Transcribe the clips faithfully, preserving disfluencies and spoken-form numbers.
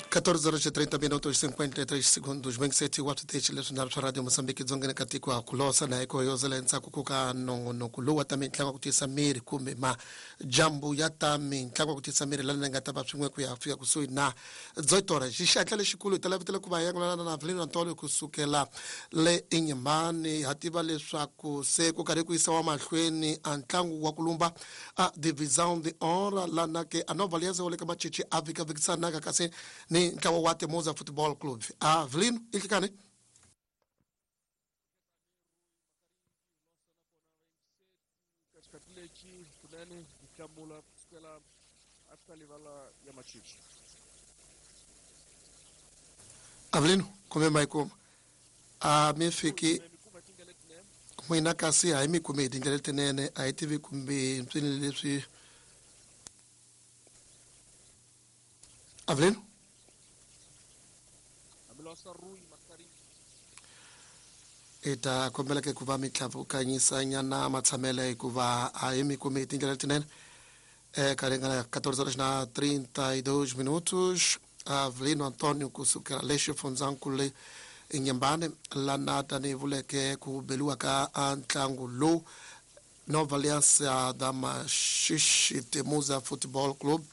catorze horas e trinta minutos e cinquenta e três segundos. Bem sete watt tech leswi na swa Radio Mozambique dzongeni ka tiko ha kulosa na iko yozela endzhaku ku ka nongonoko lowu wa ta mitlangu ku tiyisa miri kumbe majambu ya ta mitlangu ku tiyisa miri lana nga ta va swin'we ku ya fika kusuhi na dzoitora. Xixatla lexikulu hi ta lavitela ku va yangulana na Avelino Antônio kusukela le Inhambane. Ha tiva leswaku se ku karhi ku yisiwa mahlweni a ntlangu wa ku lumba a Divisão de Honra lana ke a Nova Aliança wa le ka Machichi a vikavikisanaka kasi ni ntlawa wa Temuza Football Club. Avelino, inhlikani? Avelino, kumbe mayikuma a mi fiki n'wina kasi a hi mi kumi hi tindlela letinene, a hi tivi kumbe mpfini leswi. Avelino, i ta kombela ke ku va mi tlhavukanyisanyana matshamelo hikuva a hi mi kumi hi tindlela letinene. Eka ringana catorze horas na trinta e dois minutos. Avelino Antônio kusukela le xifundzankulu le Inhambane lana tanihi vuleke ku beliwa ka ntlangu lowu Nova Aliança da Maxixe Temuza Football Club,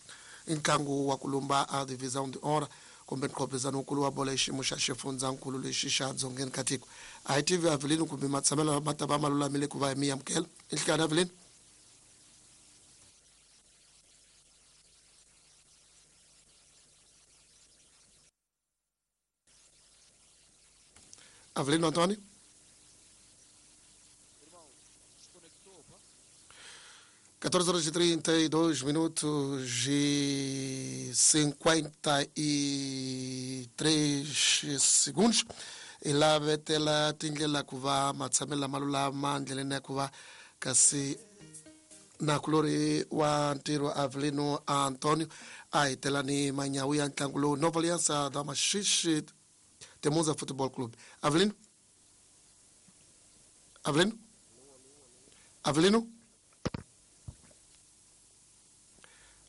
i ntlangu wa ku lumba a Divisão de Honra kumbe nqhopizano wukulu wa bolo hi xiyimo xa xifundzankulu lexi xa dzongeni ka tiko. A hi tivi Avelino kumbe matshamelo ma ta va ma lulamile ku va mi amukela. Inhlikani Avelino? Avelino Antônio? catorze horas e trinta e dois minutos e cinquenta e três segundos. E lá vetela tindlela ku va matshamelo lama lulama ndleleni ya ku va kasi nakulori wa ntirho Avelino Antônio a hetela ni manyawu ya ntlangu lowu Nova Aliança da Maxixe Temuza Football Club. Avelino? Avelino? Avelino?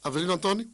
Avelino Antônio?